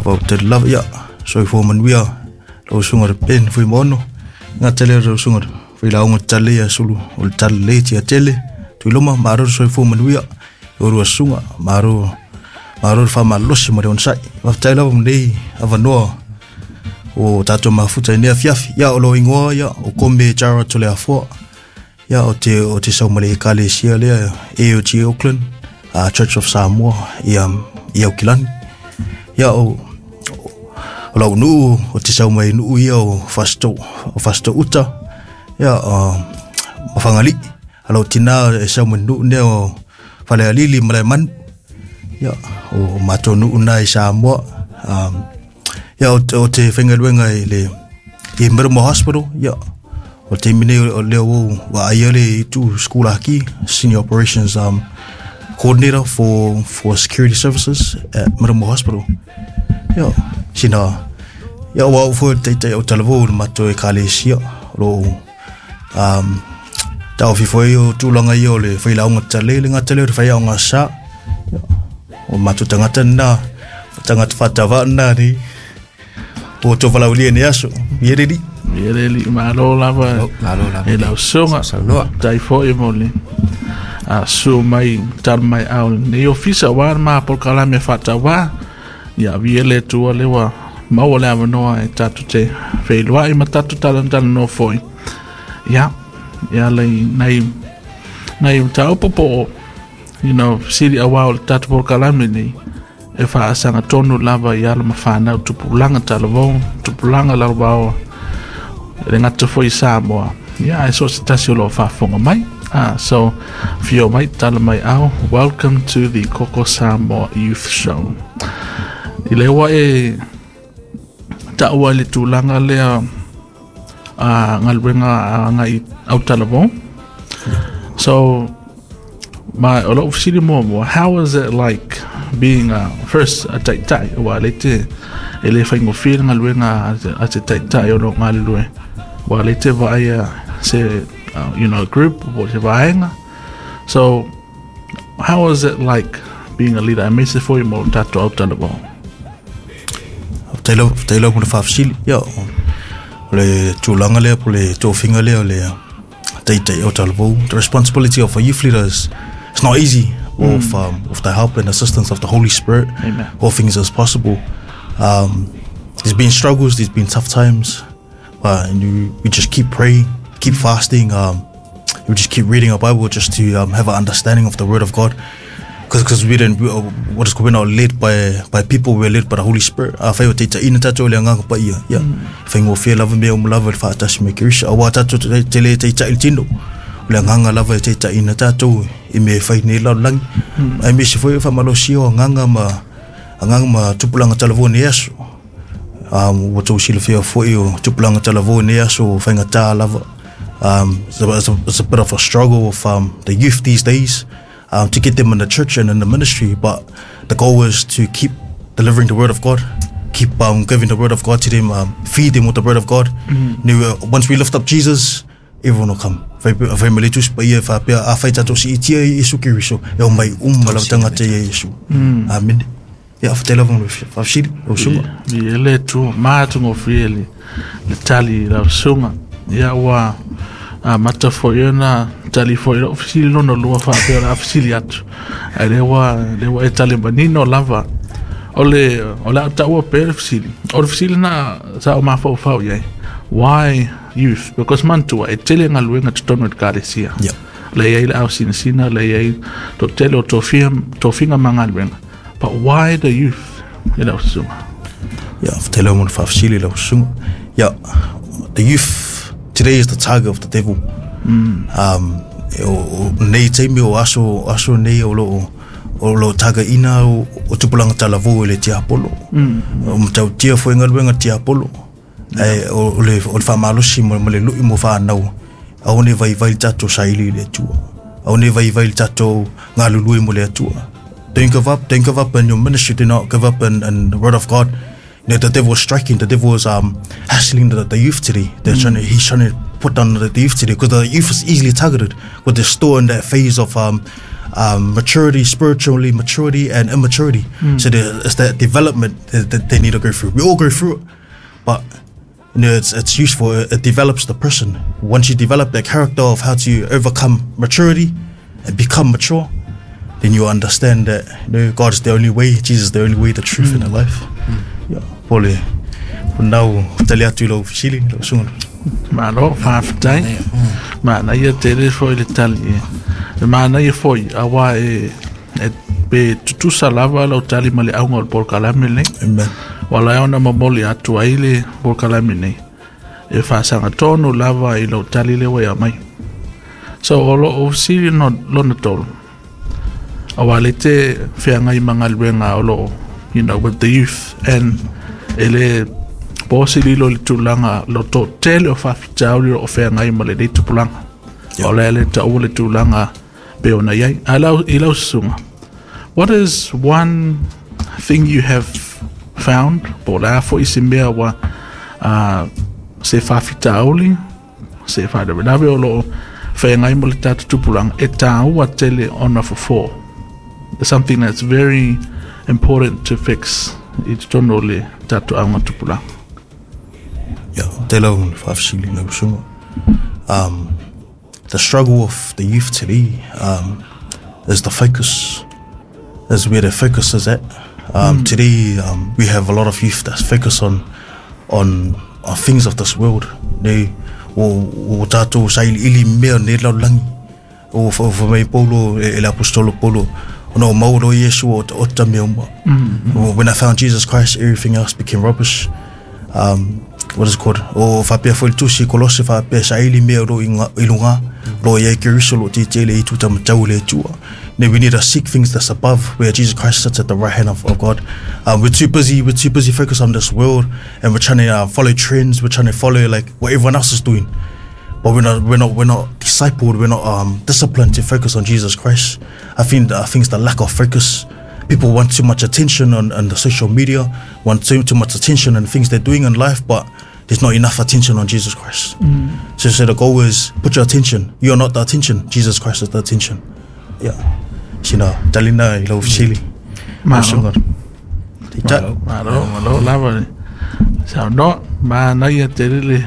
Faafetai lava, ia soifua manuia lau susuga le Ben Fuimaono, gata lea lau susuga failauga tale ia sulu o le tale lelei tiatele Tuiloma, malo le soifua manuia i oulua susuga, malo malo le faamalolosi ma le onosai. Faafetai lava mo lenei avanoa o tatou mafuta i lenei afiafi. Ia o lou igoa ia o Kome Gerard Toleafoa. Ia o te sau ma le ekalesia lea AOG Auckland, Church of Samoa ia i Aukilani. Ia o lau nuu o te sau mai nuu ia o Fasito, o Fasito uta, ia ma Fagalii. A lau tina e sau mai nuu nea o Falealili ma Malaemanu. Ia o matou nuu na i Samoa. Ia o te faigaluega i le i Middlemore Hospital. Ia o le taimi nei o lea ua ou vaaia le itu sikulaki, Senior Operations Coordinator for Security Services at Middlemore Hospital. Ia sina ia ua au foi le taitai o talavou i le matou ekalesia o lo o taofi foi o tulaga ia o le failauga tatale le gata lea o le faiaoga sa. Ia, o matou tagata lena, tagata faatauva lena nei o tou valaaulia i nei aso. Ia le alii. Ia le alii, malo lava. Malo lava. E lau susuga. Saunoa. Tai foi mo le susu mai tala mai ao nei ofisa aua le ma polokalame faatauvā. Ia avia le Atua lea ua maua le avanoa e tatou te feiloai ma tatou talatalanoa foi. Ia, e ala i nai nai mataupu po o fesili aua o le tatou polokalame nei e faasaga tonu lava i alo ma fanau tupulaga talavou, tupulaga lalovaoa, e le gata foi i Samoa, ia ae so o se tasi o lo o faafofoga mai. So, afio mai, tala mai ao, welcome to the Koko Samoa Youth Show. I le ua e taua i le tulaga lea a galuega agai au talavou. So, ma o lou fesili muamua, how is it like being a, first a taitai, ua le te, e le faigofie le galuega a te taitai o lo o galulue, ua le te vaaia se, group po o se vaega. So, how is it like being a leader, aemaise foi mo tatou au talavou? Faafetai lava, faafetai lava mo le faafesili. Ia, o le tulaga lea po o le tofiga lea o le taitai o talavou. The responsibility of a youth leader is it's not easy. With the help and assistance of the Holy Spirit, Amen. all things is possible. There's been struggles, there's been tough times, but we just keep praying, keep fasting. We just keep reading our Bible just to have an understanding of the Word of God. Because we didn't, we, what is called, we're not led by people, we're led by the Holy Spirit. Afai o taitaiina tatou le Agaga Paia, ia, faigofie lava mea uma lava i le faatasi me Keriso. Aua tatou te le taitai i le tino, o le agaga lava e taitaiina tatou i mea e fai nei lalolagi. Aemaise foi o le faamalosia o agaga ma agaga ma tupulaga talavou i nei aso. Ua tou silafia foi o tupulaga talavou i nei aso o faigata lava. It's a bit of a struggle with the youth these days to get them in the church and in the ministry, but the goal is to keep delivering the word of God, keep giving the word of God to them, feed them with the word of God. Once we lift up Jesus, everyone will come. Fai fai ma le Tusi Paia e faapea, afai tatou siitia i Iesu Keriso, e omai uma lava tagata ia Iesu. Amene. Ia, faafetai lava mo le faafesili, lau susuga. Ia le Atua, matagofie le tali i lau susuga. Ia ua amata foi ona tali foi i lou fesili lona lua faapea o le a fesili atu. Ae lea ua, lea ua e tali manino lava. O le, o le a taua pea le fesili. O le fesili na sa ou mafaufau i ai. Why youth? Because manatua, e tele galuega totonu o le ekalesia. Lea e i ai le ausinasina, lea e i ai to tele o tofia, tofiga ma galuega. But why the youth i lau susuga? Ia, faafetai lava mo le faafesili lau susuga. Ia, the youth today is the target of the devil. O nei taimi o aso, aso nei o lo o o lo o tagaina o tupulaga talavou e le tiapolo. O matautia foi galuega tiapolo. Ae o le faamalosi ma le lui mo fanau, aua ne i vaivai le tatou saili i le Atua. Aua ne i vaivai le tatou galulue mo le Atua. Don't give up, don't give up in your ministry, do not give up in the word of God. You know, the devil is striking, the devil is hassling the youth today. They're trying to, he's trying to put down the youth today because the youth is easily targeted because they're still in that phase of Maturity, spiritually maturity and immaturity. So it's that development that they need to go through. We all go through it, but you know, it's useful. It develops the person. Once you develop that character of how to overcome maturity and become mature, then you understand that, you know, God is the only way, Jesus is the only way, the truth, and the life. Yeah. Pole, nau tali atu i lau fesili, lau susuga. Malo, faafetai. Manaia tele foi le tali e. E manaia foi, auā e, e pe tutusa lava lau tali ma le auga o le polokalame lenei. Amen. Ua ala ai ona momoli atu ai le polokalame nei. E faasagatonu lava i lau tali lea ua e aumai. So, o lou fesili lona tolu, auā le te feagai ma galuega o lo o, you know, with the youth and e le po se lilo i le tulaga lo toatele o faafitauli o lo o feagai ma lenei tupulaga. O le a le taua le tulaga pe ona i ai. A lau, i lau susuga, what is one thing you have found, po o le a foi se mea ua uh, se faafitauli, se faalavelave o lo o feagai ma le tatou tupulaga, e tāua tele ona fofo. There's something that's very important to fix i totonu o le tatou auga tupulaga. Yeah, te lau faafesili lau susuga. The struggle of the youth today is the focus, is where the focus is at. Today we have a lot of youth that's focused on things of this world. Nei, o tātou sailiili mea nei lalolagi. O wha mai Paulo, e le apostolo Paulo, ona o maua loa Iesu o ota mea uma. When I found Jesus Christ, everything else became rubbish. What is it called? O whapea foi le tusi Kolose whapea saili mea ro i, nga, i lunga, ro i ai Keriso lo te tele i tuta matau le tua. Ne, we need to seek things that's above, where Jesus Christ sits at the right hand of God. We're too busy focused on this world, and we're trying to follow trends, we're trying to follow like what everyone else is doing. But we're not discipled, we're not disciplined to focus on Jesus Christ. I think it's the lack of focus. People want too much attention on the social media, want too much attention on things they're doing in life, but there's not enough attention on Jesus Christ. So the goal is put your attention. You're not the attention. Jesus Christ is the attention. Yeah. Sina talina i lau fesili. Malo. Malo, malo lava le saunoa. Manaia tele le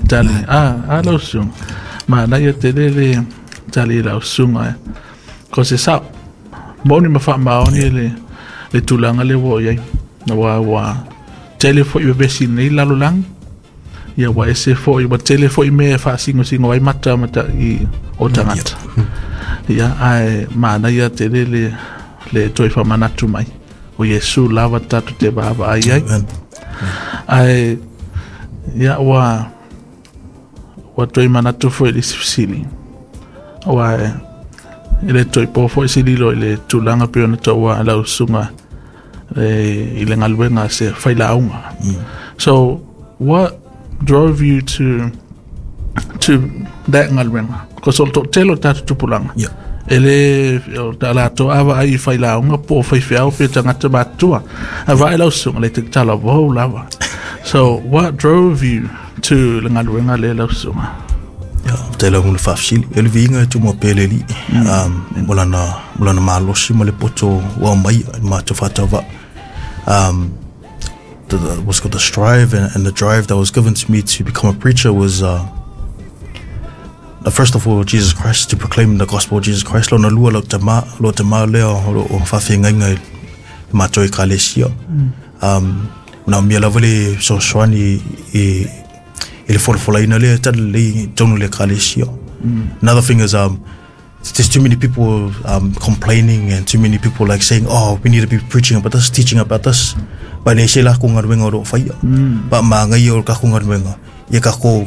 tali. A lau susuga. Manaia tele le tali i lau susuga e. Ko se sao. Moni ma faamaoni le tulaga lea ua oo i ai. Aua ua tele foi vevesi i lenei lalolagi. Ia ua ese foi, ua tele foi mea e faasinosingo ai mata mata i o tagata. Ia, ae manaia tele le toe faamanatu mai. O Iesu lava tatou te vaavaai ai. Ae, ia, ua toe manatu foi i le isi fesili. Aua e le toe po foi se lilo i le tulaga pei ona taua e lau susuga i le galuega a se failauga. So, what drove you to that galuega? Because o le toatele o tatou tupulaga, e le o ta latou a vaai i failauga po o faifeau pe tagata matutua. A vaai lau susuga le tatala vou lava. So, what drove you to le galuega lea lau susuga? Ia, te lau le faafesili. E le viiga e tumua pea le Alii. Mo lana malosi ma le poto ua aumai i matou faatauvaa. What's called the strive and the drive that was given to me to become a preacher was first of all Jesus Christ, to proclaim the gospel of Jesus Christ. Lona lua lau tama, lo tama lea o lo o faafeagaiga i matou ekalesia. Na mea lava le fesoasoani i le folafolaina lea talalelei i totonu o le ekalesia. Another thing is there's too many people complaining and too many people like saying, oh, we need to be preaching about this, teaching about this. But ne se la ko galuega o lo o faia. Pa maagaia o le kako galuega, ia kako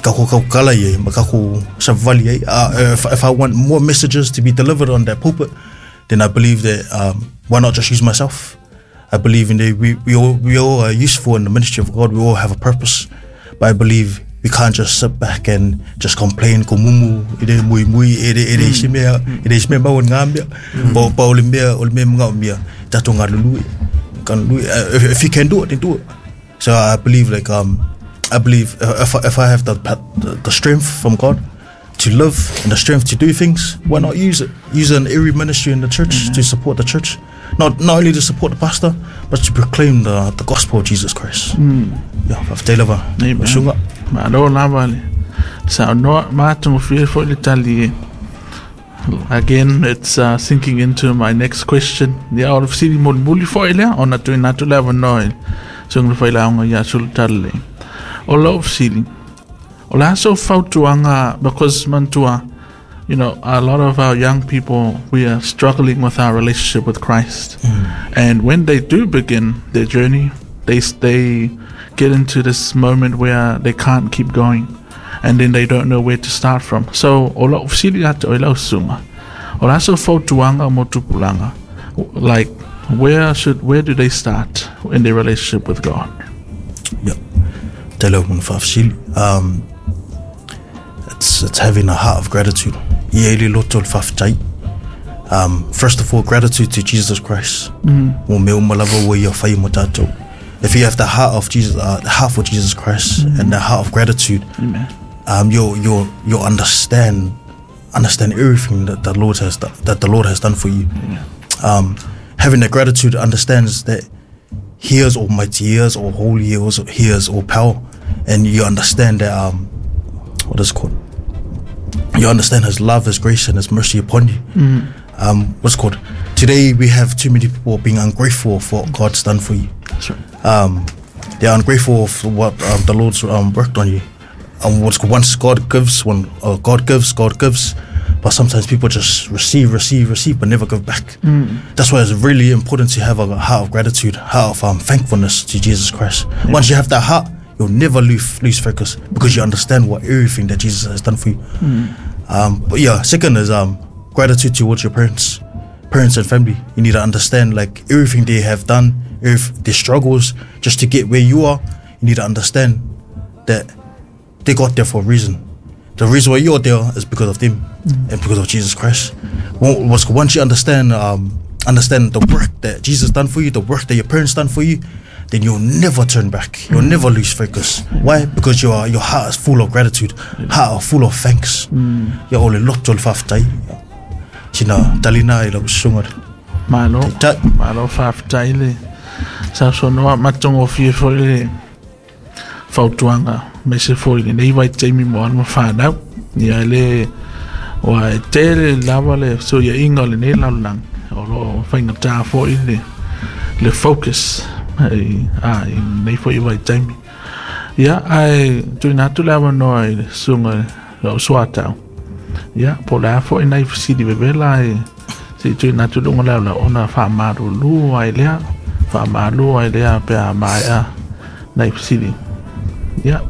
kaukala ia ma kako savali ai. If I want more messages to be delivered on that pulpit, then I believe that why not just use myself? I believe in the, we all are useful in the ministry of God. We all have a purpose. But I believe we can't just sit back and just complain ko mumu e le mui mui e le isi mea e le isi mea mau ngā mea. Pa o le mea o le mea mga o mea tatou galulue. Galulue. If you can do it, then do it. So I believe like I believe if I have the strength from God, to live and the strength to do things, why not use it? Use it in every ministry in the church to support the church. Not only to support the pastor, but to proclaim the gospel of Jesus Christ. Yeah, faafetai lava. Suga. Malo lava le saunoa matagofie foi le tali e. Again, it's sinking into my next question. Ia, o le fesili mulimuli foi lea ona tuuina atu le avanoa i le susuga i le failauga ia Sulutala. O lou fesili, o le a sou fautuaga, because manatua, a lot of our young people, we are struggling with our relationship with Christ. And when they do begin their journey, they get into this moment where they can't keep going. And then they don't know where to start from. So, o lau fesili ia te oe lau susuga, o le a sou fautuaga mo tupulaga? Like, where do they start in their relationship with God? Yeah. Te leo mona faafesili. It's having a heart of gratitude. Ia i le loto o le faafetai. First of all, gratitude to Jesus Christ. Mo mea uma lava ua ia whai mo tātou. If you have the heart of Jesus, the heart for Jesus Christ and the heart of gratitude, Amen. You'll understand everything that the Lord has that the Lord has done for you. Yeah. Having that gratitude understands that He is almighty, He is all holy, He is all power, and you understand that what is it called? You understand His love, His grace, and His mercy upon you. What's it called? Today we have too many people being ungrateful for what God's done for you. That's right. They're ungrateful for what the Lord's worked on you. What's called, once God gives, when God gives, God gives. But sometimes people just receive, receive, receive, but never give back. That's why it's really important to have a heart of gratitude, heart of thankfulness to Jesus Christ. Yeah. Once you have that heart, you'll never lose focus because you understand what everything that Jesus has done for you. But yeah, second is gratitude towards your parents and family. You need to understand like everything they have done, if their struggles just to get where you are. You need to understand that they got there for a reason. The reason why you're there is because of them and because of Jesus Christ. Once you understand the work that Jesus done for you, the work that your parents done for you, then you'll never turn back. You'll never lose focus. Why? Because your heart is full of gratitude, heart full of thanks. Ia o le loto le faafetai. Sina talina i lau susuga. Malo, malo faafetai le sausonoa matagofie foi le fautuaga aemaise foi lenei vaitaimi mo alo ma fanau. Ia le ua e tele lava le fesuiaiga o lenei lalolagi o loo faigatā foi le focus i lenei foi vaitaimi. Ia ae tuuina atu le avanoa i le susuga lau suatau. Ia po o le a foi nai fesili vevela e seʻi tuuina atu i luga o le aolau ona faamalulu ai lea pe a maea nai fesili. Ia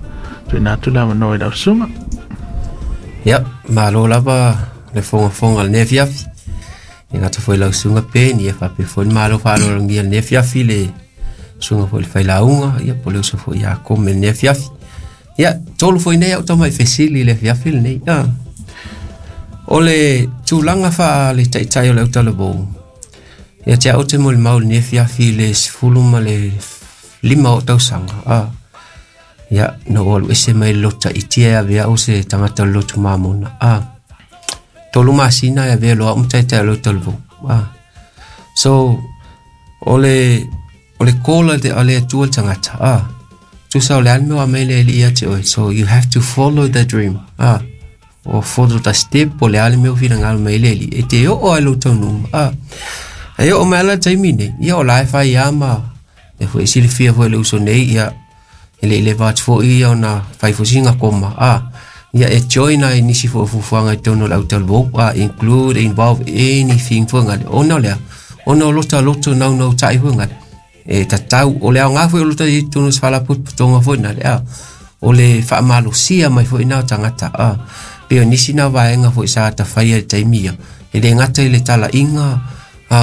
tuuina atu le avanoa i lau susuga. Ia, malo lava le fogafoga o lenei afiafi. E gata foi lau susuga Peni, ia faapea foi le malo faaaloalogia lenei afiafi le susuga foi le failauga, ia po o le uso foi ia Kome lenei afiafi. Ia, tolu foi nei au tamai fesili le afiafi lenei. O le tulaga faa le taitai o le autalavou, ia te au te molimau lenei afiafi le 15 o tausaga. Ia, na o alu ese mai le loto ta'itia e avea au se tagata o le lotu mamona. 3 masina e avea loa au ma taitai o le autalavou. So, o le call a le Atua le tagata. Tusa o le a le mea ua aumai le alii ia te oe. So, you have to follow the dream. O follow the step o le a le mea ua finagalo mai le alii. E te oo ai lou taunuuga. E oo mai ala le taimi nei. Ia o la e fai a ma e foi silafia foi le uso nei. Ia, e le i leva atu foi ia ona fai fosiga koma. Ia e join ai nisi foi o fuafuaga i totonu o le autalavou. Include, involve anything foi gale. Ona o lea, ona o lota loto naunautai foi gale. E tatau, o le aoga foi o lota i totonu o se faalapotopotoga foi nale. O le faamalosia mai foi na o tagata. Pe o nisi na vaega foi sa tafaia i le taimi ia. E le gata i le talaiga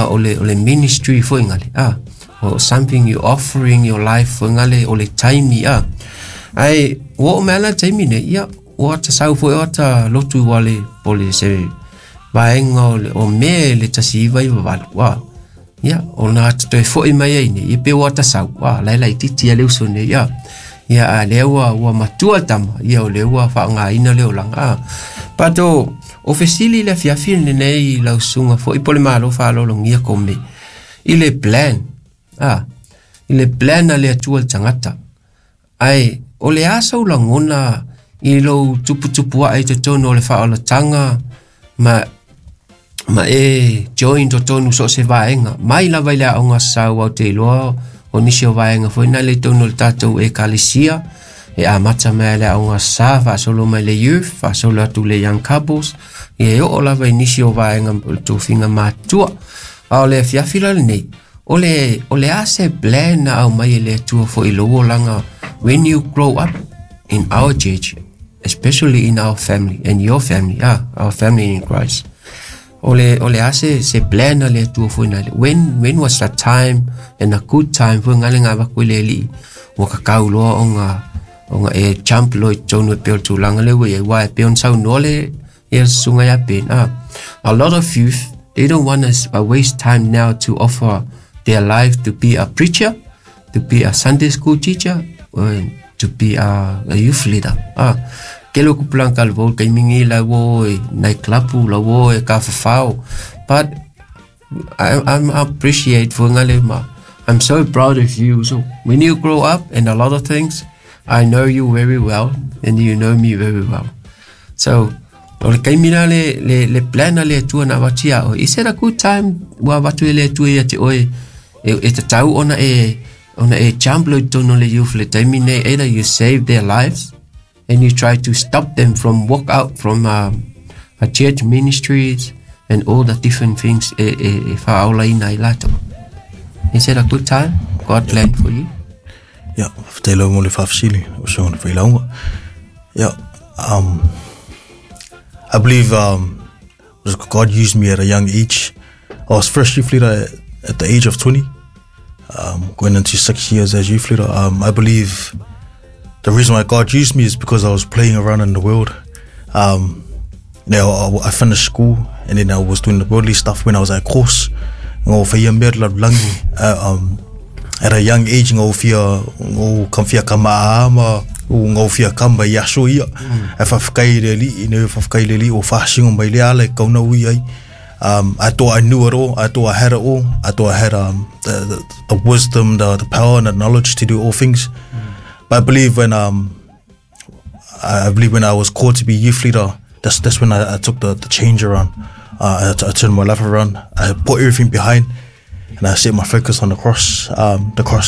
o le ministry foi gale. Or something you offering your life foi ngale o le taimi Ai ua oo mai ala le taimi nei, ia ua ata sau foi o ata lotu ua le po le se vaega o Me le 1998. Ia ona ata toe foi mai ai nei, ia pe ua ata sau, la e laitiiti a le uso nei. Ia a lea ua matua le tama, ia o lea ua faaaogaina le olaga. But o fesili le afiafi lenei lau susuga fo'i po le malo fa'alologia kome i le plan i le plan a le Atua le tagata ae o le a sau lagona i lou tuputupu ae i totonu o le faaolataga ma e join totonu so o se vaega mai lava i le aoga sau au te iloa o nisi o vaega foi na le tonu o le tatou ekalesia e amata mai le aoga sa faasolo mai le youth faasolo atu le young couples ia e oo lava i nisi o vaega o le tofiga matua a o le afiafi la lenei o le a se plan na au mai e le Atua foi i lou olaga when you grow up in our church, especially in our family and your family, our family in Christ. O le a se plan a le Atua foi na when was the time and a good time foi ngale ngā vaku le li ua kakau loa o nga e jump lo i tonu e peo tūlanga le ua ia e peo sau noa le ia sunga ia pen. A lot of youth, they don't want to waste time now to offer their life to be a preacher, to be a Sunday school teacher, or to be a youth leader. Ke lo kupulang kalvo kay mingi la wo night club la wo e ka fafao. But I'm appreciate for ngale ma. I'm so proud of you. So when you grow up and a lot of things, I know you very well and you know me very well. So o le kaimina le plan le Atua na vatia o. Is it a good time wa vatu le Atua ia te oe e te tau ona e jump lo tono le youth le taimi nei, either you save their lives and you try to stop them from walk out from a church ministries and all the different things e whaolaina i lato. Is it a good time? God plan for you? Yeah, whtelo mo le whafsili o songa whailaunga. Yeah, I believe God used me at a young age. I was first youth leader at the age of 20, going into 6 years as youth leader. I believe the reason why God used me is because I was playing around in the world. I finished school and then I was doing the worldly stuff when I was at course. At a young age, ngau fia kamfia kamaama, ngau fia kamba i aso ia. E whawhakai le li, ne whawhakai le li o whasingo mai le ala e kauna ui ai. I thought I knew it all. I thought I had it all. I thought I had the wisdom, the power and the knowledge to do all things. But I believe when I was called to be youth leader, that's when I took the change around. I turned my life around. I put everything behind. And I set my focus on the cross,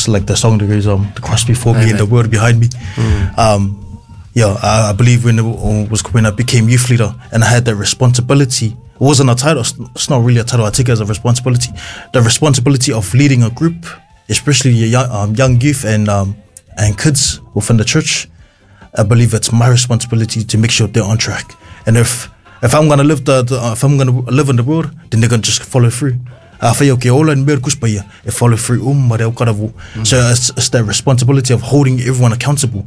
like the song that goes, the cross before me and the world behind me. I believe when I became youth leader and I had that responsibility. It wasn't a title. It's not really a title. I take it as a responsibility. The responsibility of leading a group, especially young youth and kids within the church. I believe it's my responsibility to make sure they're on track. And if I'm gonna live if I'm gonna live in the world, then they're gonna just follow through. E follow through So it's that responsibility of holding everyone accountable.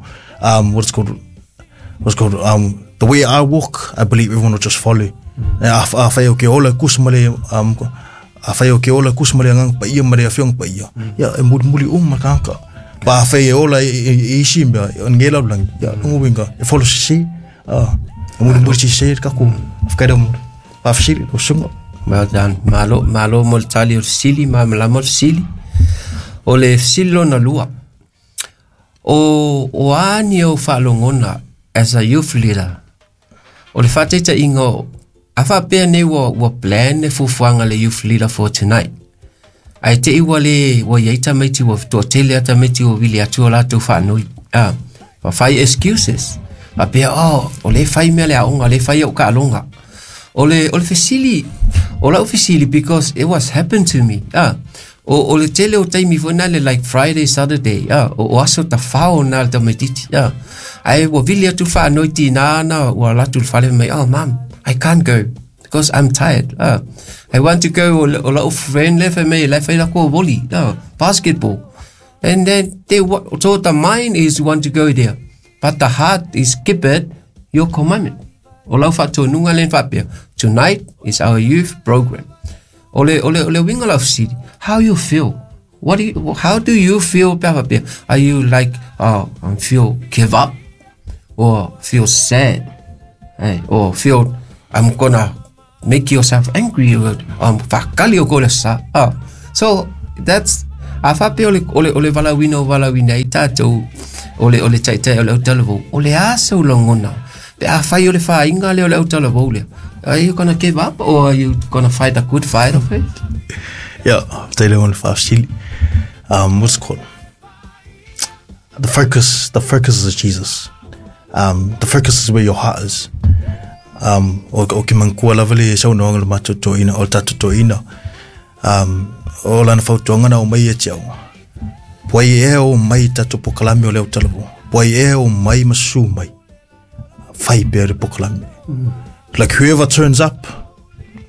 The way I walk, I believe everyone will just follow. Well done. Malo, malo mo le tali o le sili, ma malama o le sili. O le sili lona lua. O ani o whaalongona as a youth leader. O le whateita ingo, a whapea nei ua plan e fufuanga le youth leader for tonight. Ai te iwa le ua iaita meiti ua toatele ata meiti ua wili atu o lātou whaanui. Whai excuses. Whapea, o le whai mea le aonga, le whai au ka alonga. O le fesili, o lau fesili because it was happened to me. O le tele o taimi foi na le like Friday, Saturday. O aso ta whao na le tamatiti. Ai ua vili atu whaanoi tina na ua latu le whale mai, oh mom, I can't go because I'm tired. I want to go o lau friend le whai mei, le whai la koa volley, basketball. And then so the mind is want to go there, but the heart is keep it your commandment. O lau whatonunga len whapea. Tonight is our youth program. O le winga lau city. How you feel? How do you feel? Are you like, oh, I feel give up? Or feel sad? Hey, or feel I'm gonna make yourself angry. Whakali o kore sa. So that's a whape o le valawina o valawina i tātou o le taitai o le autalavou. O le asa o langona. Pe a whai o le whainga le o le autalavou lea. Are you gonna give up or are you gonna fight a good fight of it? Yeah, te leo le whaafsili. What's it called? The focus is Jesus. The focus is where your heart is. O ki mangkua lava le sau no le mato ina o tato to ina. O lana fautuanga na o mai e tiau. Puai e o mai tato pokalame o leo talavo. Puai e o mai masu mai. Whai pea re pokalame. Like, whoever turns up,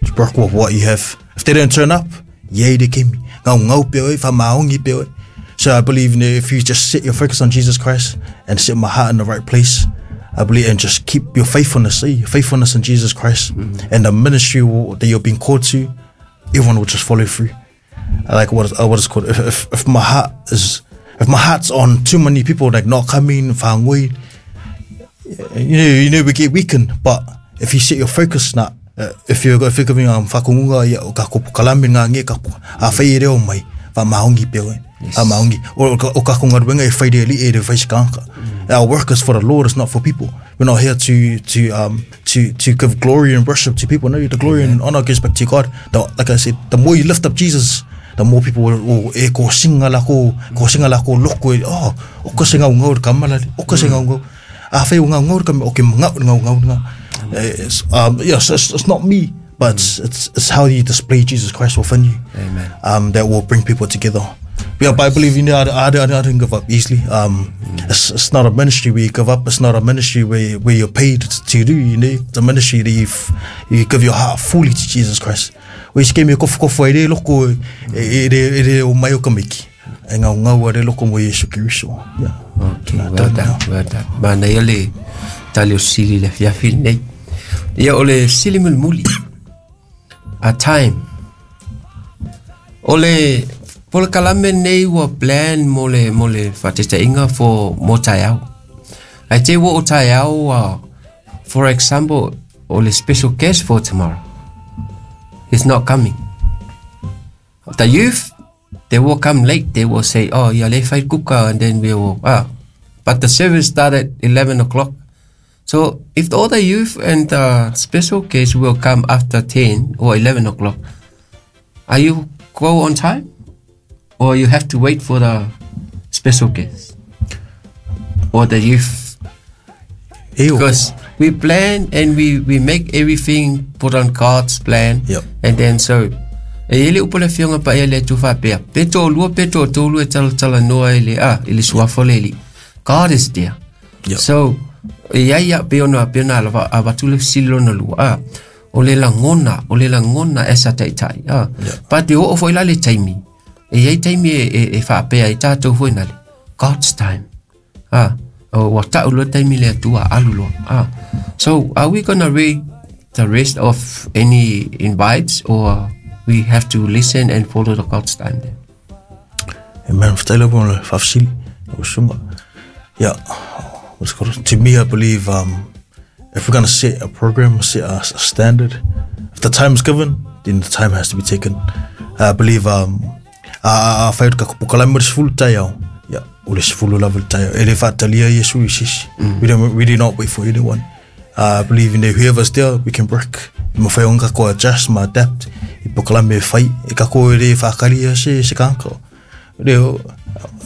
just work with what you have. If they don't turn up, yay de kemi. Ngau ngau pe oi, wha maongi pe oi. So I believe in if you just set your focus on Jesus Christ and set my heart in the right place, I believe, and just keep your faithfulness, eh? Faithfulness in Jesus Christ, and the ministry that you're being called to, everyone will just follow through. I like what is called. If my heart's on too many people, like not coming, whangoi, we get weakened. But if you set your focus na, if you're giving whakungunga ia o ka kopo kalame ngā nge ka a whai e reo mai, wha maongi pe oe. A maongi. O ka konga e whai re li e re whai sikanga. Our work is for the Lord, it's not for people. We're not here to give glory and worship to people. No, the glory and honor goes back to God. Like I said, the more you lift up Jesus, the more people will e ko singa la ko singa la ko loko e, oh, o ko singa ngau kamala, o ko singa ngau. A whai o ngau ngau ka o ke ngau ngau ngau ngau. Yes, it's not me, but it's how you display Jesus Christ within you. Amen. That will bring people together. Yeah, but I believe I don't give up easily. It's not a ministry where you give up. It's not a ministry where you're paid to do. It's a ministry that you give your heart fully to Jesus Christ. We se me kofu kofu e re loko e re o mai o kamiki. E ngau ngau a re loko mo Yesu Kristo. Yeah. Okay, well done, well done. Mana ia le tali o sili le fiafi nei. Ia o le sili mulimuli. A time. O le polokalame nei ua plan mo le faataitaiga for mo taeao. Ai te ua o taeao, for example, o le special guest for tomorrow is not coming. The youth, they will come late. They will say, "Oh, yeah, le fai kuka," and then we will, ah. But the service started at 11 o'clock. So if all the youth and the special guest will come after 10 or 11 o'clock, are you go on time? Or you have to wait for the special guest? Or the youth? E o. Because we plan and we make everything put on God's plan. And then so, e ele upo le fionga pa ele tu fa pea. Pe to lua, pe to tolu e tala tala noa ele, ah, ele suafo le eli. God is there. So, e ia ia pe ona lava a watu le silo na lua. Ah, o le langona e sa tai tai. Ah, pa te o fo ila le taimi. E ia taimi e fa pea i tātou foi nale. God's time. Ah, o wa tau lo taimi le atua alu lo. Ah, so are we gonna read the rest of any invites or we have to listen and follow the God's time then? Amen. Whataila mo le whafsili. O sunga. Yeah. What's it called? To me, I believe if we're going to set a program, set a standard, if the time is given, then the time has to be taken. I believe a whai ka pokalame o le sefulu taeao. Yeah, o le sefulu lava le taeao. E le whaatalia Yesu i sisi. We do not wait for anyone. I believe in whoever's there, we can work. Ma whai onga ko adjust, ma adapt. I pokalame e whai. E ka ko e re whakaria se kānka. Reo,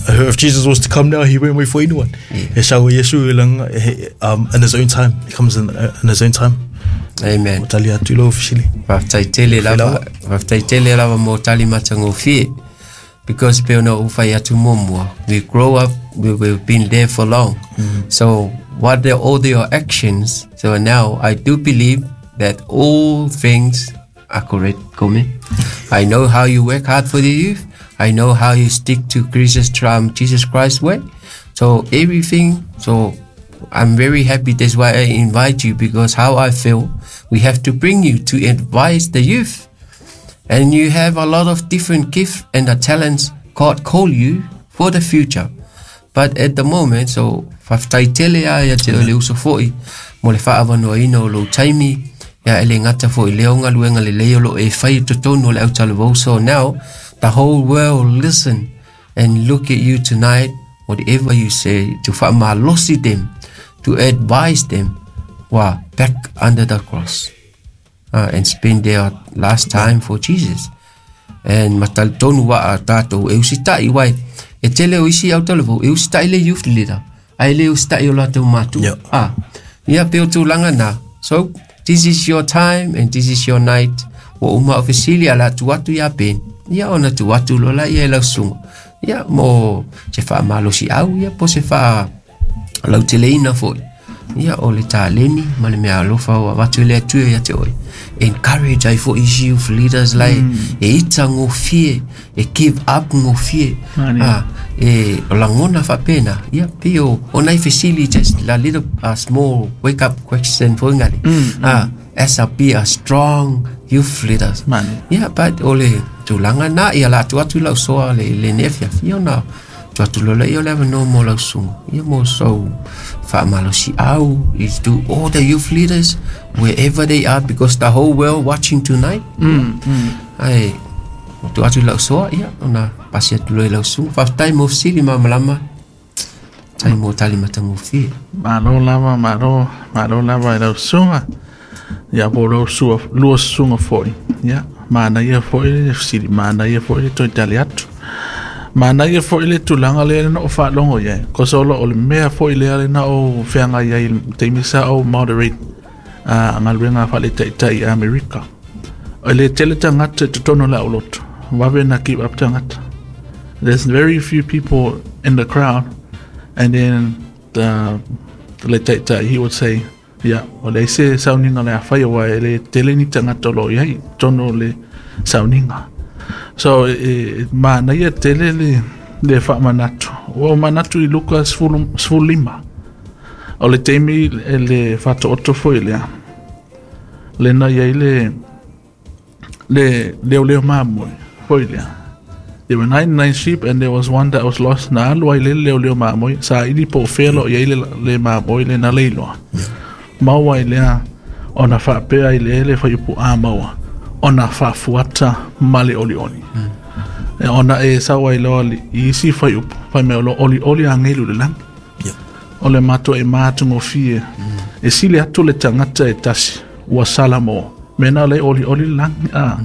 if Jesus was to come now, he won't wait for anyone. E sau Yesu e langa, in his own time. He comes in his own time. Amen. O tali atu lo ofisili. Faafetai tele lava mo tali matagofie. Because pe ona u whai atu momua. We grow up, we've been there for long. So what are all your actions? So now I do believe that all things are correct, Kome. I know how you work hard for the youth. I know how you stick to Jesus Christ's way. So everything, so I'm very happy. That's why I invite you, because how I feel, we have to bring you to advise the youth. And you have a lot of different gifts and the talents God call you for the future. But at the moment, so faafetai tele a ia te o le uso foi mo le faavanoaina o lou taimi. Ia e le gata fo'i lea o galuega lelei o loo e fai i totonu o le autalavou. So now the whole world listen and look at you tonight, whatever you say, to faamalosi them, to advise them, who are back under the cross and spend their last time for Jesus. And ma talitonu waa tātou e usita'i wai e tele o isi autalavou e usita'i le youth leader ai le usita'i o latou matua. Ah, ia pe o tulaga na. So this is your time and this is your night. Ua uma o fesili a la tu atu ia Ben. Ia ona tu atu lola ia e lausunga. Ia mo se faamalosi au ia po se faa lauteleina fo'i. Ia o le taleni ma le mea alofa o avatu e le Atua ia te oe. Encourage ai fo'i isi youth leaders lai e ita gofie, e give up gofie. Ah, e o lagona faapena. Ia pei o o nai fesili, just a little a small wake up question foi ngale. Ah, as a be a strong youth leaders. Mani. Ia but o le tulaga na ia la atu atu lau soa le le nefiafi ona tu atu lola ia o le avanoa mo lau suga ia mo sou faamalosi au is to all the youth leaders wherever they are, because the whole world watching tonight. Ai o tu atu lau soa ia ona pasi atu loa i lau suga. Faafetai mo fesili malamalama tai mo tali matagofie. Malo lava, malo, malo lava i lau suga. Ia po lau sua, lua suga fo'i. Ia, manaia fo'i le fesili, manaia fo'i le toe tali atu. Manaia fo'i le tulaga lea na o faalogo i ai. Kosa o o le mea fo'i lea le na o feagai ai i le taimi sa o moderate a galuega faale-taitai i Amerika. O le tele tagata i totonu o le aulotu. Vave na give up tagata. There's very few people in the crowd, and then the le taitai, he would say, ia, o leai se sauniga o le a fai aua e le tele ni tagata o lo o i ai i totonu o le sauniga. So e manaia tele le le faamanatu. Ua ou manatu i Luka 15. O le taimi e le faataoto foi lea. Lena i ai le le leoleo mamoe foi lea. There were 99 sheep and there was one that was lost. Na alu ai le leoleo mamoe. Sa ili po o fea lo i ai le, le mamoe le na leiloa. Maua ai lea ona faapea i le ele whaiupu a maua. Ona faafuata ma le olioli. E ona e sau ai loa i isi fuaiupu, fai mai o lo o olioli agelu i le lagi. O le matou e matagofie, e sili atu le tagata e tasi ua sala mo mea na o lea e olioli le lagi, a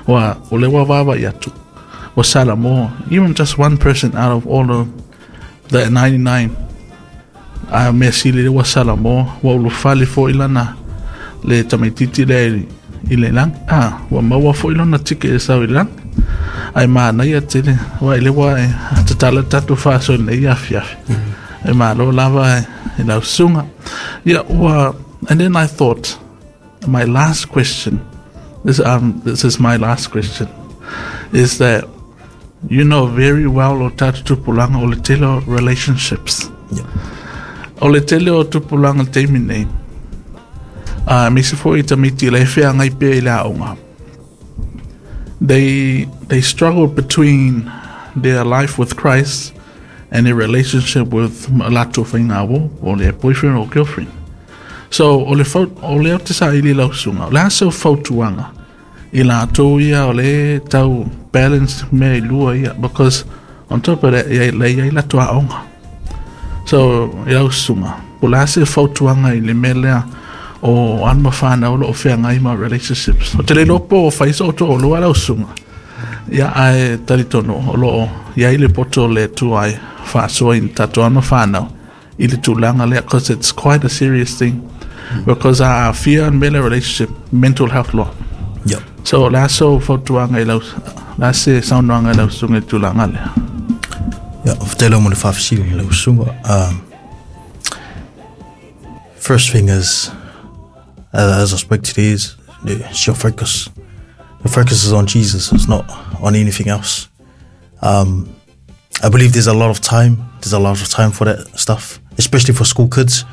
ua o lea ua vaavaai atu ua sala mo even just one person out of all of the 99, a mea sili lea ua sala mo ua ulufale foi lana le tamaititi lea i le lagi, a ua maua foi lona ticket e sau i le lagi. Ae manaia tele ua i le ua e tatala tatou faasoa i lenei afiafi. E malo lava e lau susuga. Ia ua and then I thought my last question this this is my last question is that you know very well o tatou tupulaga o le tele o relationships. O le tele o tupulaga i le taimi nei, a aemaise foi i tamaiti la e feagai pea i le aoga. They struggle between their life with Christ and their relationship with latou faigāuo, po o le boyfriend or girlfriend. So o le fau, o lea ou te saili i lau susuga, o le a sau fautuaga i latou ia o le tau balance mea i lua ia, because on top of that ia le iai latou aoga. So i lau susuga, po o le a se fautuaga i le mea lea o alo ma fanau o lo o feagai ma relationships. Ou te le iloa po o fai so outou lua lau susuga. Ia ae talitonu o lo o iai le poto o le Atua e faasoa i tatou alo ma fanau i le tulaga lea, because it's quite a serious thing, because a aafia le mea lea relationship, mental health loa. So o le a sou fautuaga i lau, o le a se saunoaga i lau susuga i le tulaga lea? Ia, faafetai lava mo le faafesili i lau susuga. First thing is, as I spoke today, is it's your focus. Your focus is on Jesus, it's not on anything else. I believe there's a lot of time. There's a lot of time for that stuff, especially for school kids.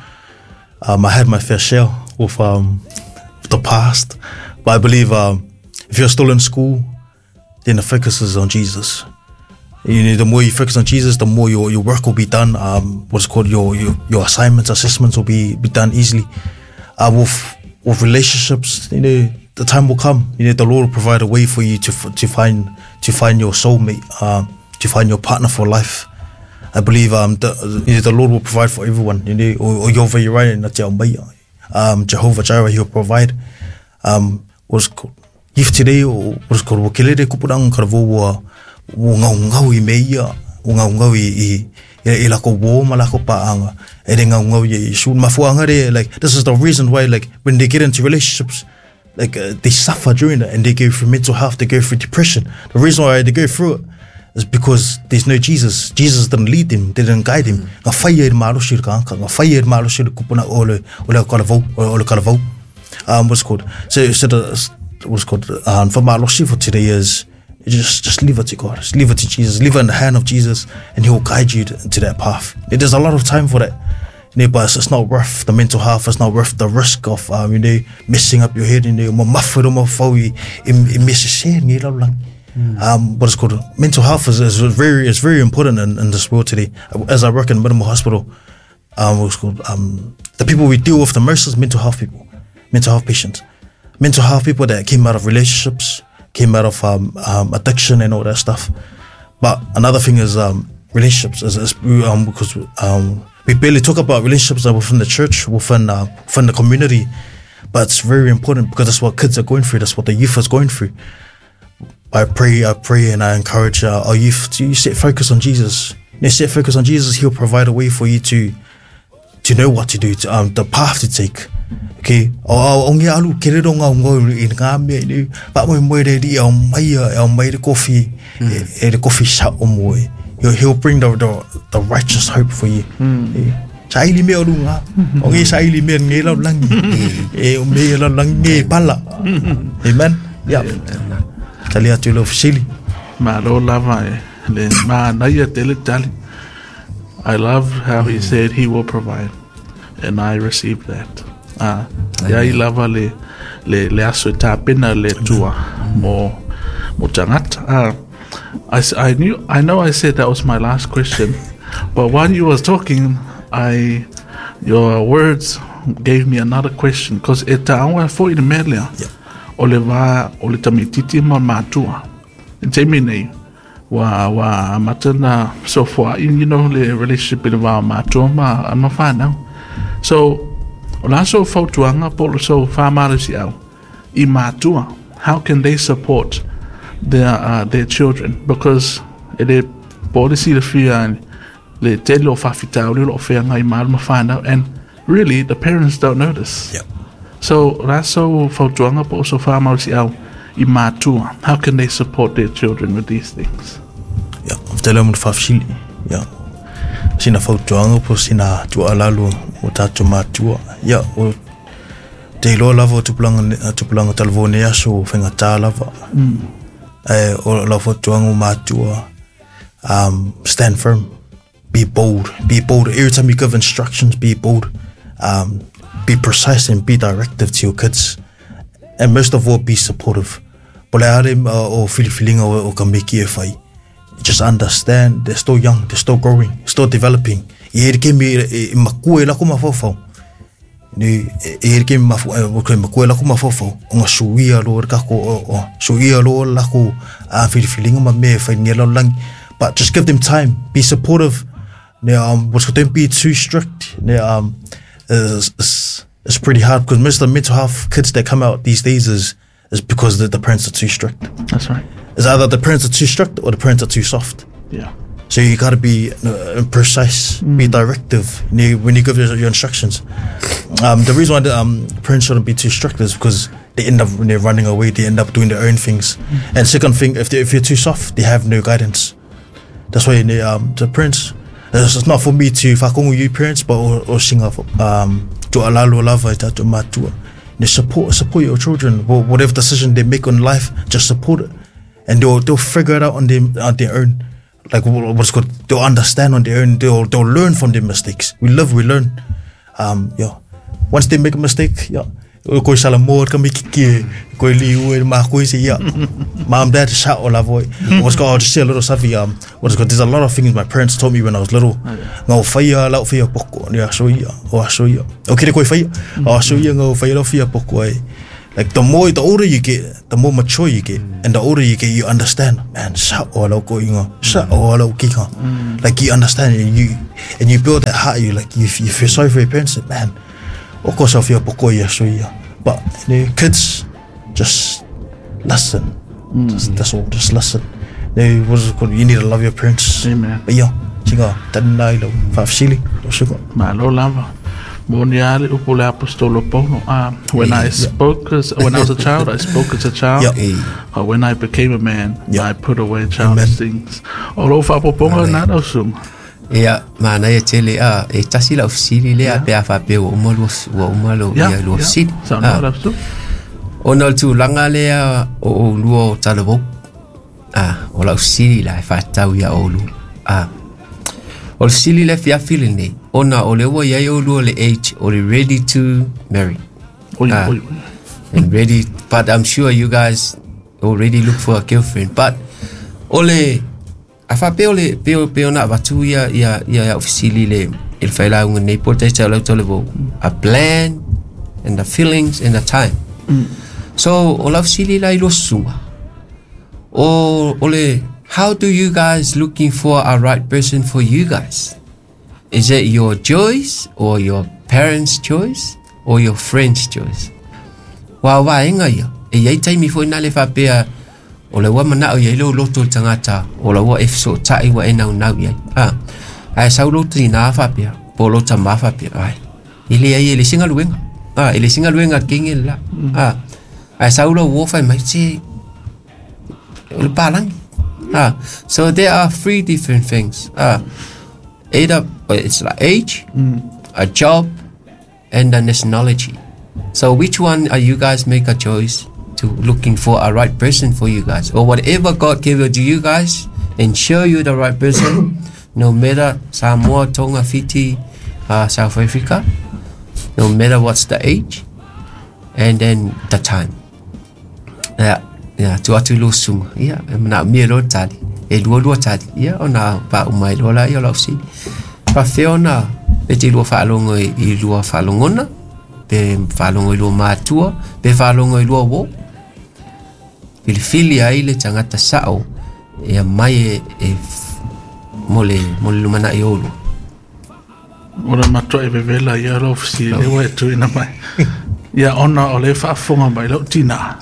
I had my fair share with the past, but I believe if you're still in school, then the focus is on Jesus. You know, the more you focus on Jesus, the more your work will be done. What's called your assignments, assessments will be done easily. With With relationships, you know, the time will come. You know, the Lord will provide a way for you to to find to find your soulmate, to find your partner for life. I believe the, you know, the Lord will provide for everyone. You know, o Yova Uriah na te au Jehovah Jireh, He'll provide. What's called if today what's called o kelere kupuranga kara ua ua ngau ngau i me ia ua ngau ngau i i i lako wo ma lako paanga e re ngau ngau i su mafuanga re, like this is the reason why, like, when they get into relationships, like, they suffer during it and they go through mental health, they go through depression. The reason why they go through it is because there's no Jesus. Jesus didn't lead them, they didn't guide them. Ngā whai e malosi ka anka, ngā whai e malosi le kupuna o le o le kalavau, o le kalavau. What's called? So the what's called for malosi for today is just leave it to God. Just leave it to Jesus. Leave it in the hand of Jesus, and He will guide you to that path. There's a lot of time for that. You know, but it's not worth the mental health. It's not worth the risk of you know, messing up your head. You know, mo mawhero mo whau i mese ngi lau lang. What it's called, mental health is very important in this world today. As I work in Minimal Hospital, what's called, the people we deal with the most is mental health people, mental health patients, mental health people that came out of relationships, came out of addiction and all that stuff. But another thing is relationships, is because we barely talk about relationships within the church, within the community, but it's very important because that's what kids are going through, that's what the youth is going through. I pray and I encourage our youth to set focus on Jesus. You set focus on Jesus, He'll provide a way for you to know what to do, to, the path to take. Okay, o ngi alu kerero ngā ngau i ngā mea ni, pa mo mo re ri au mai au mai re kofi e re kofi sa o mo. He'll bring the righteous hope for you. Saili me orunga, o ngi saili me ngi lau langi, e o me lau langi pala. Amen. Yeah. Tali atu lo fisili. Ma lo lava e le ma naia tele tali. I love how he said he will provide, and I received that. Ia i lava le le aso e tāpena le tua mo tangata. I know I said that was my last question, but while you was talking, your words gave me another question, because e tāua fo i le melea. O le vā o le tamititi ma mātua. E te nei, wa matana so far, you know, le relationship i le vā mātua ma whanau. So, o la so fautuanga po le so whamarisi au i mātua. How can they support their children? Because e le polisi le whia le tele o whawhitau le o whia ngai māru ma whanau, and really the parents don't notice. Yeah. So, la so fautuanga po so whamarisi au i mātua. How can they support their children with these things? Yeah, tele mo whawhili. Yeah. Sina fautuanga po sina tua lalu o tātou mātua. Yeah, o te iloa lava o tupulanga talvone aso o whengatā lava. O lau fautuanga o mātua, stand firm, be bold, be bold. Every time you give instructions, be bold. Be precise and be directive to your kids. And most of all, be supportive. Po le are o whiliwhilinga o ka meki e whai. Just understand they're still young, they're still growing, still developing. I here ke mi e makua e lako mawhawhau. I here ke mi makua e lako mawhawhau. O ngā suia lo re kako, o suia lo lako a whiliwhilinga ma me whai nge lau langi. But just give them time, be supportive. Don't be too strict. It's pretty hard because most of the mental health kids that come out these days is because the parents are too strict. That's right. It's either the parents are too strict or the parents are too soft. Yeah. So you got to be precise, be directive when you give your instructions. The reason why the parents shouldn't be too strict is because they end up running away, they end up doing their own things. And second thing, if you're too soft, they have no guidance. That's why the parents, it's not for me to whakongu you parents, but o singa to alalo lava i tātou mātua. Support your children. Whatever decision they make in life, just support it. And they'll figure it out on their own. Like what's called, they'll understand on their own. They'll learn from their mistakes. We live, we learn. Yeah. Once they make a mistake, yeah. O koi Samoa ka miki ki koi liu e ma koi se ia. Mom, dad, sa o la voi. What's called, I'll just say a little something. What's called, there's a lot of things my parents taught me when I was little. Ngau whaia, lau whaia poko. Ni aso ia, o aso ia. O kere koi whaia. O aso ia ngau whaia lau whaia poko ai. Like the more, the older you get, the more mature you get. And the older you get, you understand, man, sa o lau ko inga, sa o lau kika. Like you understand and you build that heart, you like, you feel sorry for your parents, like, man, o ko sa whaia poko ia aso ia. But you know, kids, just listen. Just, that's all, just listen. You know, what is it called? You need to love your parents. Amen. But yeah, tinga, tana ilo, whaafsili, lo suka. Malo lava. Moni ale upu le apostolo Paulo. When I spoke as, when I was a child, I spoke as a child. Yeah. But when I became a man, Yeah. I put away childish things. O lo whaapoponga nā rau sunga. Ia, mana ia tele a e tasi lau fesili lea pe a faapea ua uma lua ua uma lo ia lua fesili. Sa Ah. nā rau sunga. Ona o le tulaga lea o oulua o talavou. O lau fesili la e faatatau ia oulua. O le fesili lea fiafi lenei, ona o le ua iai oulua le age o le ready to marry. Oi, oi, oi. And ready, but I'm sure you guys already look for a girlfriend. But ole a faapea o le pe ona avatu ia ia ia ofisili le il failauga nei po taita lau talavou. A plan and the feelings and the time. So o lau fesili la i lua susuga. O ole, how do you guys looking for a right person for you guys? Is it your choice or your parents' choice or your friend's choice? Wa waenga ia. E iai taimi foi na le faapea o le ua manao iai lou loto le tagata o la ua e fesootai ua e naunau iai. Ae sau lou tinā faapea po o lou tamā faapea ai. E leai e le isi galuega. E le isi galuega a le kege le la. Ae sau lou uo fai mai se o le palagi. So there are three different things. Either it's like age, a job, and the nationality. So which one are you guys make a choice to looking for a right person for you guys? Or whatever God give it to you guys and show you the right person, no matter Samoa, Tonga, Fiti, South Africa, no matter what's the age, and then the time. Yeah, yeah, tu atu lo sunga. Yeah, e mana mia lo tali. E lua lua tali. Yeah, ona pa umai lo la ia lau si. Pa whiona, e te lua whaalongo i lua whaalongona, pe whaalongo i lua mātua, pe whaalongo i lua wō. Filifili ai le tangata sao, e a mai e mole lumana i olu. Ora matua e vevela ia lau fesili lewa e tuina mai. Ia ona o le whaafonga mai lau tina.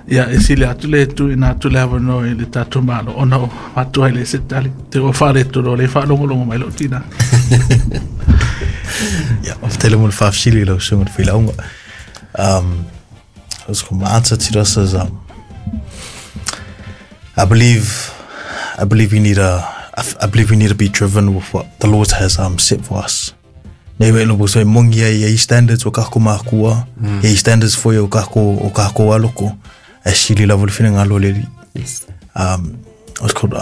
Ia e sili atu le tuina atu le awano i le tātou malo. Ona o matua i le se tali. Te o whaare toro le whaalongolongo mai lau tina. Ja, og fortælle mig far Sili lau sunga le failauga. So my answer to this is I believe we need a I believe we need to be driven with what the Lord has set for us. Nei wei lobo so mongi ai ai standards o kako makua, ai standards for o kako aloko. E sili lava le whina ngalo le. Yes. What's called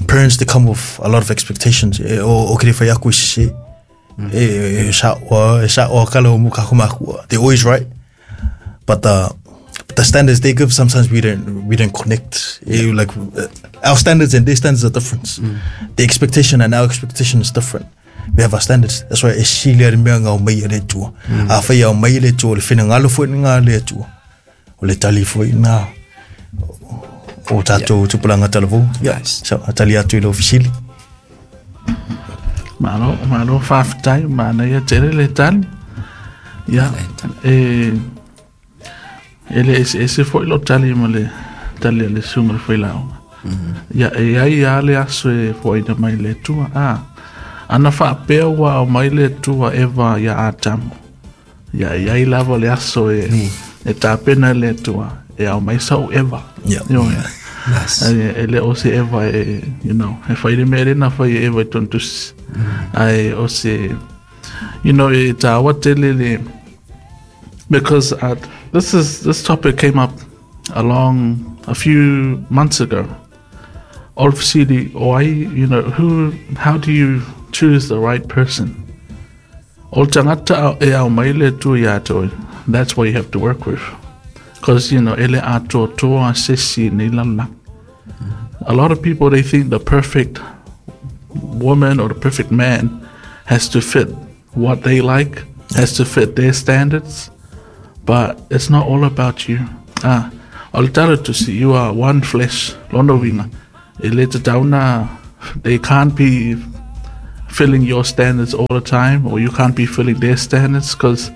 parents, they come with a lot of expectations. O kere whai aku i sise. E sa o kala o kako makua. They're always right. But the standards they give, sometimes we don't connect. Yeah. Like our standards and their standards are different. The expectation and our expectation is different. We have our standards. That's why e sili ari mea ngau mai le tua. A whai au mai le tua, le whina ngalo fo ngā le tua. O le tali fo ngā. O tātou tupulanga talavou. Yeah. So, a tali atu i lau fisili. Malo, malo whawhitai, mana ia tere le tali. Ia, e le ese fo i lo tali ma le tali a le sunga le whailaonga. Ia, e ai a le aso e fo ina mai le tua. Ana whaapea ua au mai le tua Eva ia Adamu. Ia, e ai lava le aso e tāpena le tua. E au mai sau Eva. Yeah. Yeah. Nice. E le o se Eva e, you know, e whaire mere na whai Eva i tontusi. Ai o se, you know, e tāwa tele le, because this topic came up a few months ago. Obviously, why, you know, how do you choose the right person? O tangata e au mai le tu ia toi. That's what you have to work with. Because, you know, ele atoatoa sesi nei lalolagi. A lot of people, they think the perfect woman or the perfect man has to fit what they like, has to fit their standards. But it's not all about you. Ah, o le tala tusi, you are one flesh. Lona uiga, e le tatau ona, they can't be filling your standards all the time, or you can't be filling their standards, because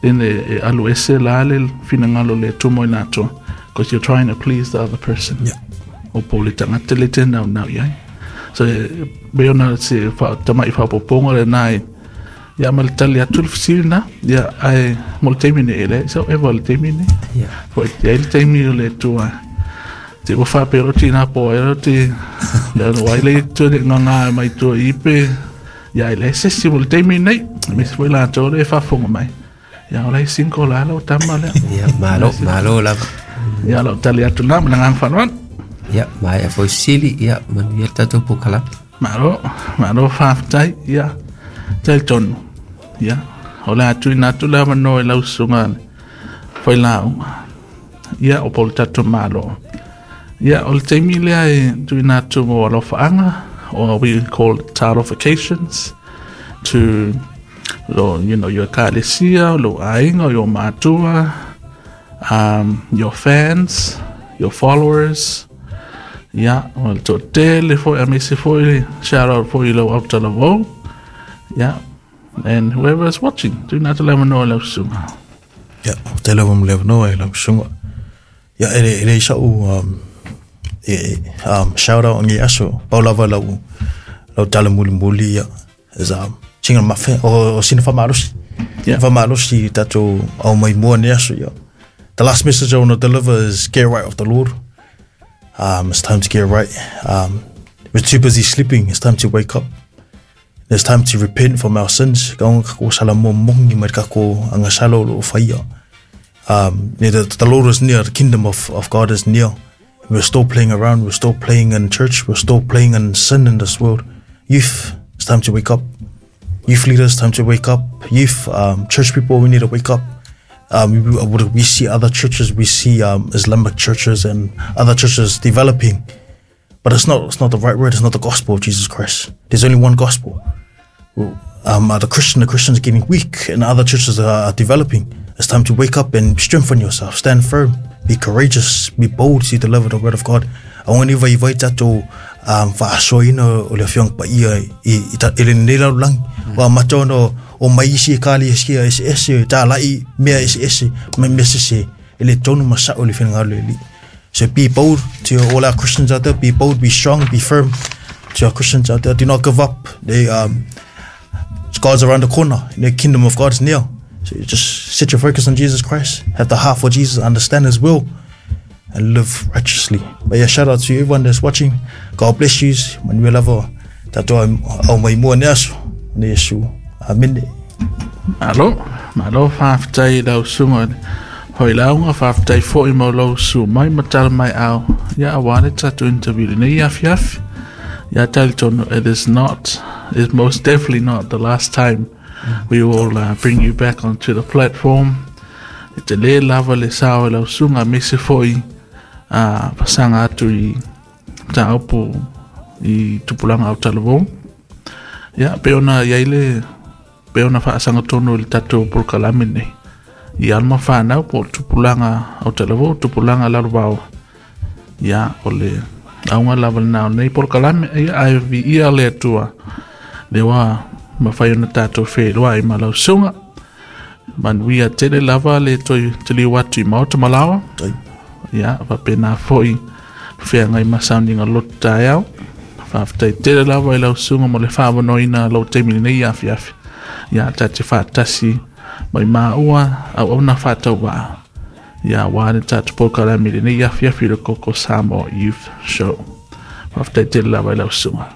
then e alu ese la le finagalo o le Atua mo i latou, because you're trying to please the other person. Yeah. O po o le tagata le te naunau i ai. So, e pei ona se wha, tama'i whapoponga le nā e, ia ma le tali atu le fesili nā, ia, ae mo le taimi nei, e leai sau eva o le taimi nei. Yeah. Foi i ai le taimi o le Atua. Te ua whapea ro tina po ai ro te, ia no ai le tua le nganga mai tua i pe, ia e leai sesi mo le taimi nei, me se foi latou le e whafonga mai. Ia o lai single la lau tama lea. Ia, malo, malo lava. Ia lau tali atu nā, ma le agaga faaaloalo. Ia, maea foi fesili, ia, manuia le tatou polokalame. Malo, malo faafetai, ia, talitonu, ia, o le a tuuina atu le avanoa i lau susuga le failauga, ia, o po o le tatou Malo. Ia, o le taimi lea e tuuina atu mo alofaaga, or we call it talofications, to lo, you know, your ekalesia, lou aiga, your matua, your fans, your followers, ia, o le toatele foi, aemaise foi, shout out foi i lau autalavou, ia, and whoever is watching, tuuina atu le avanoa i lau susuga. Ia, faafetai lava mo le avanoa i lau susuga. Ia, e le, e leai sa'u um, e, um, shout out i aso, pau lava lau, lau tala mulimuli, ia, is um, sina mafe, o, o sina whamalosi. Yeah. Whamalosi tatou au mai mua nei aso, ia. The last message I want to deliver is get right with the Lord. It's time to get right. We're too busy sleeping. It's time to wake up. It's time to repent from our sins. Ka onga kako sala mo mongi mai kako anga sala o lo whaia. The Lord is near. The kingdom of God is near. We're still playing around. We're still playing in church. We're still playing in sin in this world. Youth, it's time to wake up. Youth leaders, time to wake up. Youth, church people, we need to wake up. We see other churches, we see Islamic churches and other churches developing, but it's not the right word. It's not the gospel of Jesus Christ. There's only one gospel. The Christians are getting weak, and other churches are developing. It's time to wake up and strengthen yourself. Stand firm. Be courageous. Be bold to deliver the word of God. Aua ne vaivai tatou faasoaina o le Afioga Paia i i lenei lalolagi. Ua amata ona o mai isi ekalesia eseese, talai mea eseese ma mea sese, e le tonu ma sa'o i le finagalo o le Alii. So be bold to all our Christians out there. Be bold, be strong, be firm to our Christians out there. Do not give up. They, God's around the corner. The kingdom of God is near. So you just set your focus on Jesus Christ. Have the heart for Jesus. Understand His will. And live righteously. But yeah, shout out to everyone that's watching. God bless you. Manuia lava tatou au mai mua nei aso. Ne Iesu. Amene. Malo, malo faafetai i lau susuga i le failauga, faafetai foi mo lou susu mai ma tala mai ao, ia aua le tatou interview lenei afiafi. Ia talitonu, it is not, it is most definitely not the last time we will bring you back onto the platform. E tele lava le sao e lau susuga aemaise foi a fasaga atu i mataupu i tupulaga autalavou. Ia, pei ona i ai le, pei ona faasaga tonu i le tatou polokalame lenei, i alo ma fanau po o le tupulaga autalavou, tupulaga lalovaoa. Ia, o le auga lava lena o lenei polokalame, ia, ae viia le Atua, lea ua mafai ona tatou feiloai ma lau susuga. Manuia tele lava le toe taliu atu i Maota Malaoa. Ia, faapena foi feagai ma sauniga loto taeao. Faafetai tele lava i lau susuga mo le faavanoaina lou taimi lenei afiafi. Ia, ta te faatasi mai maua auauna faatauvaa. Ia, aua le tatou polokalame lenei afiafi le Koko Samoa Youth Show. Faafetai tele lava i lau susuga.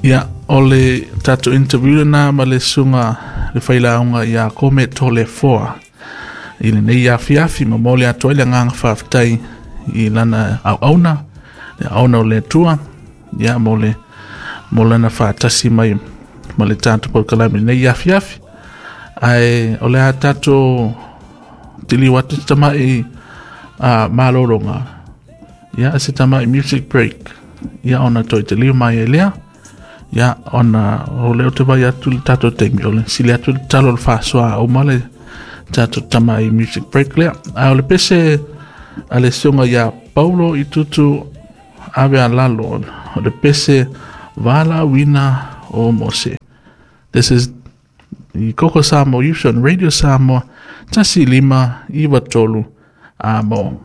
Ia, o le tatou interview lena ma le susuga le failauga ia Kome Toleafoa i lenei afiafi, momoli atu ai le agaga faafetai i lana auauna, le auauna o le Atua, ia, mo le mo lana faatasi mai ma le tatou polokalame i lenei afiafi. Ae o le a tatou tiliu atu se tama'i malologa, ia se tama'i music break, ia ona toe taliu mai ai lea. Ia ona o lea ou te vai atu le tatou taimi o le sili atu le talo o le faasoa uma le tatou tama'i music break lea. Ae o le pese a le susuga ia Paulo i Tutu ave a lalo, o le pese valaauina o Mose. This is the Koko Samoa Youth on Radio Samoa, 1593 amo.